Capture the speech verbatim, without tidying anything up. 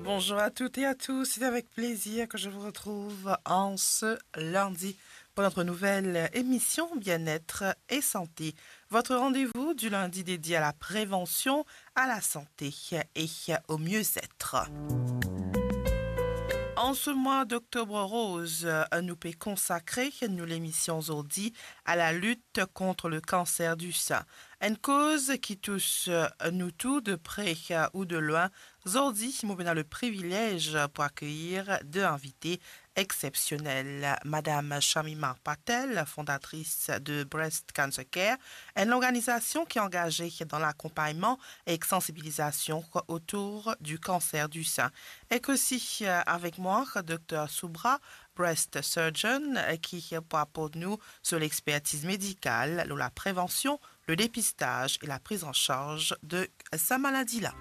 Bonjour à toutes et à tous, c'est avec plaisir que je vous retrouve en ce lundi pour notre nouvelle émission Bien-être et Santé. Votre rendez-vous du lundi dédié à la prévention, à la santé et au mieux-être. En ce mois d'octobre rose, nou pe konsakre nou lemision zordi à la lutte contre le cancer du sein. Enn koz ki tous nou tou de pre ou de lwin. Zordi, mo pena le privilez pou akeyir de invite exsepsionel. Madam Shamima Patel, fondatris de Breast Cancer Care, enn lorganizasion ki angaze dan lakonpagnman ek sansibilizasion otour du cancer du sein. Ek osi, euh, avek mwa, Dr Subra, breast surgeon, euh, ki pou aport nou so lexpertiz medikal lor la prevansion, le depistaz e la priz an sarz de sa maladi la.